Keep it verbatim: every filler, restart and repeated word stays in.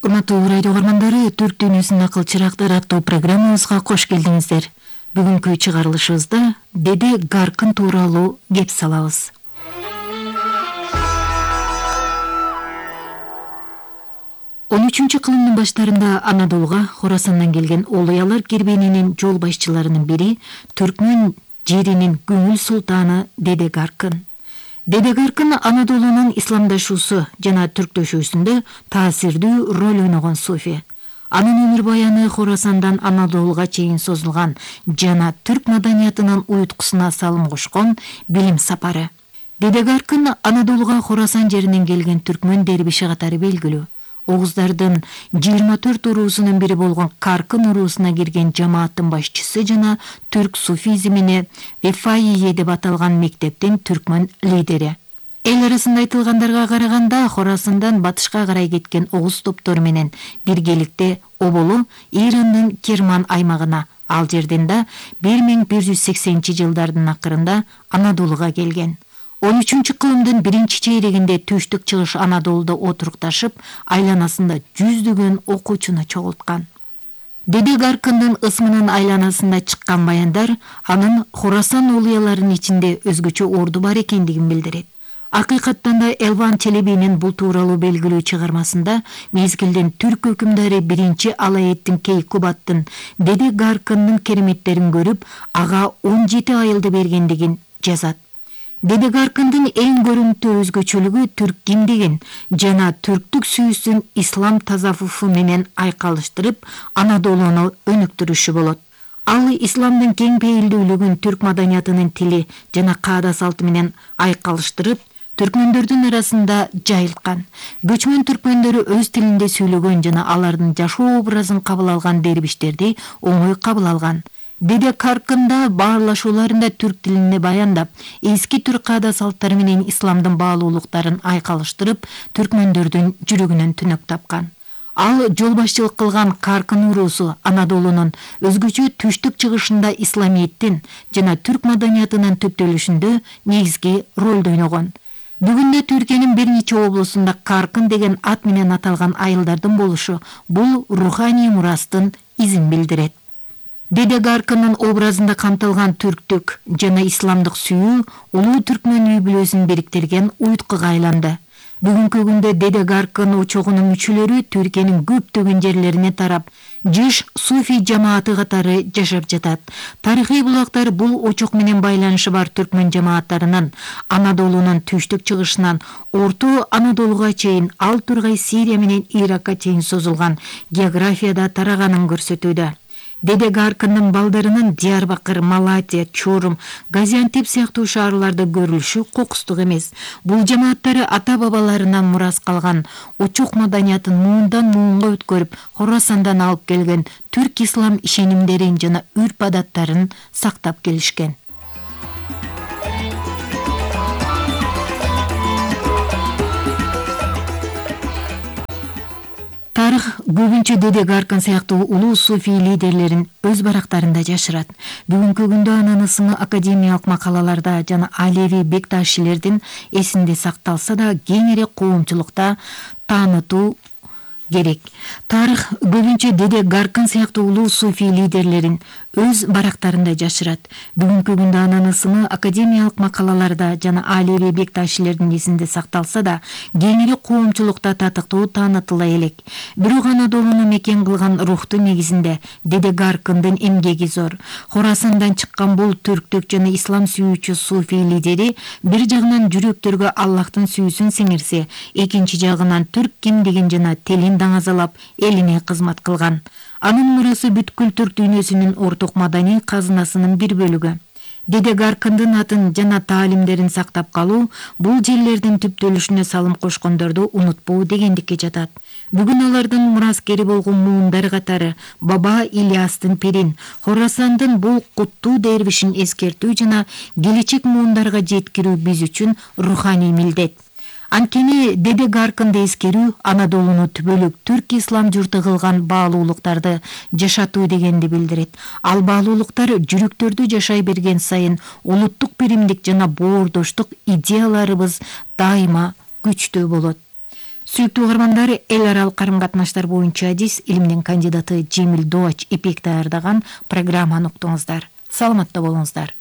Урматтуу радио угармандары, Түрк дүйнөсүнүн акыл чырактары аттуу программабызга кош келдиңиздер. Бүгүнкү чыгарылышыбызда Деде Гаркын тууралуу кеп салабыз. он үчүнчү кылымдын баштарында Анадолуга Хорасандан келген Олуялар кербенинин жол башчыларынын бири Түркмөн жеринин көңүл султаны Деде Гаркын. Деде Гаркын Анадолунун исламдашуусу жана түрктөшүүсүндө таасирдүү роль ойногон суфи. Анын өмүр баяны Хорасандан Анадолуга чейин созулган жана түрк маданиятынын уюткусуна салым кошкон билим сапары. Деде Гаркын Анадолуга Хорасан жеринен келген түркмөн дербиши катары белгилүү. Оғуздардын жыйырма төрт уруусунун бири болгон Каркын уруусуна кирген жамааттын башчысы жана түрк суфизмине Вефаие деп аталган мектептин түркмөн лидери. Эл арасында айтылгандарга караганда Хорасандан батышка карай кеткен оғуз топтору менен биргеликте оболу Ирандын Керман аймагына, ал жерден да бир миң бир жүз сексенинчи жылдардын акырында Анадолуга келген. он үчүнчү кылымдын биринчи чейрегинде түштүк чыгыш Анадолуда отурукташып, айланасында жүздөгөн окуучуну чогулткан. Деде Гаркындын ысмынын айланасында чыккан баяндар анын Хорасан олуяларынын ичинде өзгөчө орду бар экендигин билдирет. Акыйкаттан да Элван Челебинин бул тууралуу белгилүү чыгармасында мезгилдин түрк өкүмдары биринчи Алаэддин Кейкубаттын Деде Гаркындын кереметтерин көрүп, ага он жети айылды бергендигин жазат. Деде Гаркындын эң көрүнүктүү өзгөчөлүгү түрк кимдигин жана түрктүк сүйүүсүн ислам тазаввуфу менен айкалыштырып, Анадолуну өнүктүрүшү болот. Ал исламдын кең пейилдүүлүгүн түрк маданиятынын тили жана каада салты менен айкалыштырып, түркмөндөрдүн арасында жайылткан. Көчмөн түркмөндөрү өз тилинде сүйлөгөн жана алардын жашоо образын кабыл алган дербиштерди оңой кабыл алган. Деде Гаркында баарлашууларында түрк тилинде баяндап, эски түрк каада салттары менен исламдын баалуулуктарын айкалыштырып, түркмөндөрдүн жүрөгүнөн түнөк тапкан. Ал жол башчылык кылган Каркын уруусу Анадолунун өзгөчө түштүк чыгышында исламиеттин жана түрк маданиятынын түптөлүшүндө негизги ролду ойногон. Бүгүндө Түркиянын бир нече облусунда Каркын деген ат менен аталган айылдардын болушу бул руханий мурастын изин билдирет. Деде Гаркындын образында камтылган түрктүк жана исламдык сүйүү улуу түркмөн үй-бүлөсүн бириктирген уюткуга айланды. Бүгүнкү күндө Деде Гаркын очогунун мүчөлөрү Түркиянын көптөгөн жерлерине тарап, жыш суфий жамааты катары жашап жатат. Тарыхый булактар бул очок менен байланышы бар түркмөн жамааттарынын Анадолунун түштүк чыгышынан Орто Анадолуга чейин, ал тургай Сирия менен Иракка чейин созулган географияда тараганын көрсөтүүдө. Деде Гаркындын балдарынын Диярбакыр, Малатия, Чорум, Газиантеп сыяктуу шаарларда көрүлүшү кокустук эмес. Бул жамааттары ата-бабаларынан мурас калган очок маданиятын муундан муунга өткөрүп, Хорасандан алып келген түрк ислам ишенимдерин жана үрп-адаттарын сактап келишкен. Тарых көбүнчө Деде Гаркын сыяктуу улуу суфий лидерлерин өз барактарында жашырат. Бүгүнкү күндө анын ысымы академиялык макалаларда жана Алеви Бекташилердин эсинде сакталса да, кеңири коомчулукта таанытуу керек. Тарых көбүнчө Деде Гаркын сыяктуу улуу суфий лидерлерин өз барактарында жашырат. Бүгүнкү күндө анын ысымы академиялык макалаларда жана Алеви Бекташилердин эсинде сакталса да, кеңири коомчулукта татыктуу таанытыла элек. Бирок Анадолуну мекен кылган рухту негизинде Деде Гаркындын эмгеги зор. Хорасандан чыккан бул түрктүк жана ислам сүйүүчү суфий лидери бир жагынан жүрөктөргө Аллахтын сүйүүсүн сиңирсе, экинчи жагынан түрк кимдигин жана тилин даңазалап, элине кызмат кылган. Анын мурасы бүткүл түрк дүйнөсүнүн орток маданий казынасынын бир бөлүгү. Деде Гаркындын атын жана таалимдерин сактап калуу бул жерлердин түптөлүшүнө салым кошкондорду унутпоо дегендикке жатат. Бүгүн алардын мураскери болгон муундар катары Баба Ильястын пирин, Хорасандын бул куттуу дербишин эскертүү жана келечек муундарга жеткирүү биз үчүн руханий милдет. Анткени Деде Гаркынды эскерүү Анадолуну түбөлүк түрк ислам журту кылган баалуулуктарды жашатуу дегенди билдирет. Ал баалуулуктар жүрөктөрдү жашай берген сайын улуттук биримдик жана боордоштук идеяларыбыз дайыма күчтүү болот. Сүйүктүү угармандар, эл аралык карым катнаштар боюнча адис илимдин кандидаты Жемил Дооч эпек даярдаган программаны уктуңуздар. Саламатта болуңуздар.